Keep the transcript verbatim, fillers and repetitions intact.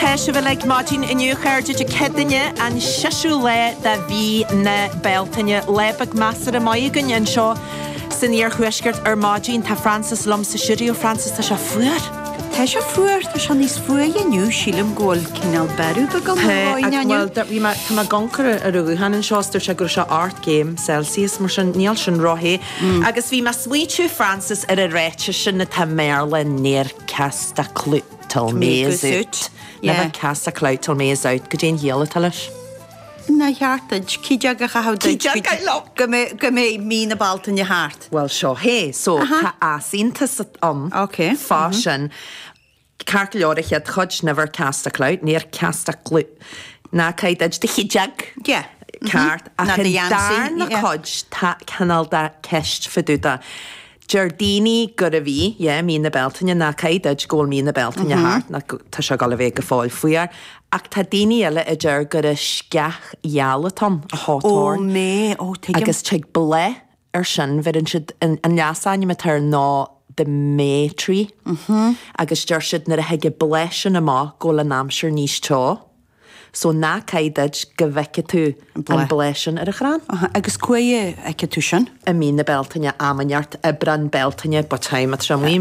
Tá sibh uilig maidin inniu chairde Dé Céadaoine an séú lá de mhí na Bealtaine lá beag measartha maith againn anseo san iarthuaisceart ar maidin tá Francis liom sa stiúideo Francis tá sé fuar. Tá sé fuar tá sé níos fuaire inniu sílim go bhfuil cineál bearú go Well bhí tá mé ag amharc ar an ghuthán anseo dúirt sé go raibh sé ocht gcéim Celsius mar sin níl sin róthe. Agus bhí mé ag smaointiú Francis ar an ráiteas sin atá i mBéarla never cast a clout till May is out. Never cast a clout till May is out, goidé an chiall atá leis. Nár cheart duit cídeog a chaitheamh duit go mbeidh go mbeidh mí na Bealtaine thart. Well seo hé, so tá easaontas ann Ok. fá sin. Ceart go leor an chéad chuid never cast a clout, never cast a clout. Ná caith duit do chídeog. Yeah. Ceart ach Ná do an gheansaí, darna yeah. cuid tá cineál de ceist fá dtaobh de. Deir daoine gurb í, yeah, mí na Bealtaine ná caith duit go bhfuil mí na Bealtaine thart, ná go- tá sé ag dul a bheith go fóill fuar. Ach tá daoine eile a deir gur an sceach gheal atá ann, a Ó hawthorn. mé ó tuigim. Agus tig bláth ar sin bheireann siad an an leasainm atá air ná the May tree. Agus deir siad nuair a thig an bláth sin amach go bhfuil an aimsir níos teo. So ná caith duit go bhfeicfidh tú an bláth. bláth sin ar an chrann. Aha, Agus cá bhfeicfidh tú sin? I mí na Bealtaine am inteacht Aibreán Bealtaine, but time at amuigh